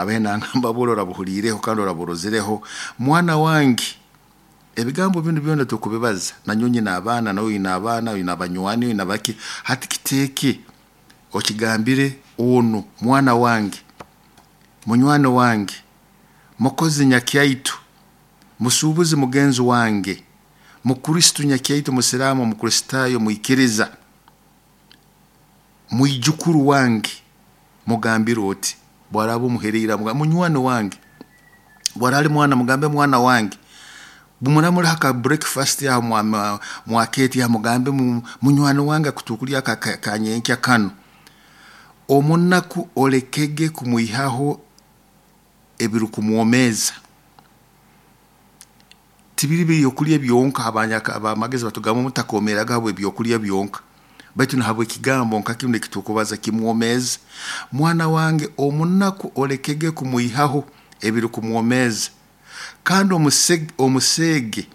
Abahe nangamba buli orabuhuliireho kandi oraburozireho. Mwana wange, ebigambo binu byona tukubibaza, nanyowe nyina abaana, nawe oyina abaana, oyina abanywani, oyina baki. Hati kiteeke okigambire onu mwana wange, munywani wange, mukozi nyakyaitu, musuubuzi mugenzi wange, mukristu nyakyaitu, musiraamu, mukristaayo, mwikiriza, mwijukuru wange, mugambire oti bwaraba omuhereire, munywani wange, bwarali mwana, mugambe mwana wange. Bumuramuri ka breakfast aho mwaketi aho, mugambe munywani wange akutukulya kanyenkya kano. Omunaku olekege kumwihaho ebirukumwomeza. Tibiri byokulya byonka, abamagezi batugamba mutakomeraga habwe ebyokulya byonka, baitu nahabwe ekigambo nka kinu ekitukubaza kimwomeza. Mwana wange, omunaku olekege kumwihaho ebirukumwomeza, kandi omuseege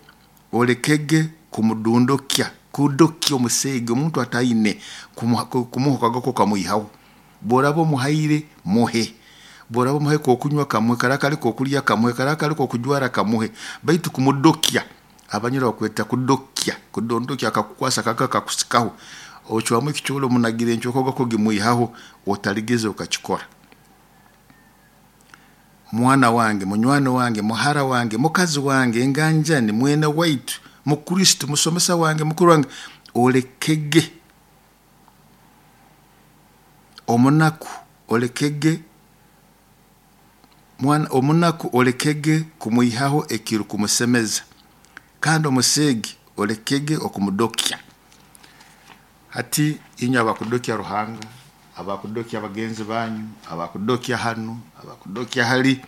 olekege kumudundukya, kudokya omuseege, omuntu ataine kumuha kagako kamwihaho. Bworaba omuhaire, muhe. Bworaba omuhaire kokunywa, kamuhe. Kara kali kokulya, kamuhe. Kara kali kokujwara, kamuhe. Baitu kumudokya, abanyoro bakweta kudokya, kudondokya, akakukwasa kaka kakusikaho, ocwamu ekicoolo omunagira encoko gako gimwihaho, otaligeza okakikora. Mwana wange, munywani wange, muhara wange, mukazi wange, enganjani, mwene waitu, mukristo, musomesa wange, mukuru wange, olekege omunaku, olekege mwana, omunaku olekege kumwihaho ekirukumusemeza, kandi omuseege olekege okumudokya. Hati inywe abakudokya Ruhanga, abakudokya bagenzi banyu, abakudokya hanu, abakudokya hali,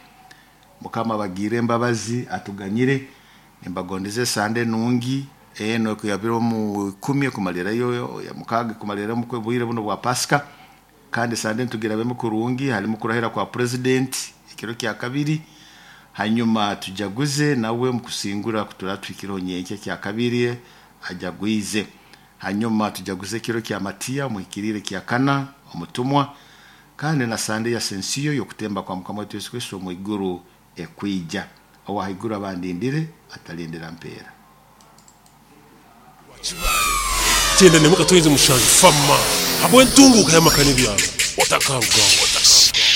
Mukama abagiire embabazi, atuganyire. Nimbagondeza esande nungi eno ekuyabire omu 10 ekumalirayo ya 6 ekumalirayo omu bwire buno bwa Pasika. Kandi sande ntugirabemu kurungi, halimu kurahira kwa president ekiro kya kabiri, hanyuma tujaguze nawe mukusingura kutura tuhikireho nyenkya kya kabiri ajagwize. Hanyuma tujaguze ekiro kya Matiya omuhikiriire kya kana omutumwa, kandi na sande ya sensiyo y'okutemba kwa Mukama waitu Yesu Kristo omu iguru ekwija. Owahaiguru abandindire atalindira mpeera. 91.7 Fama habw'entunguka y'amaka n'ebyaro otakarugaho.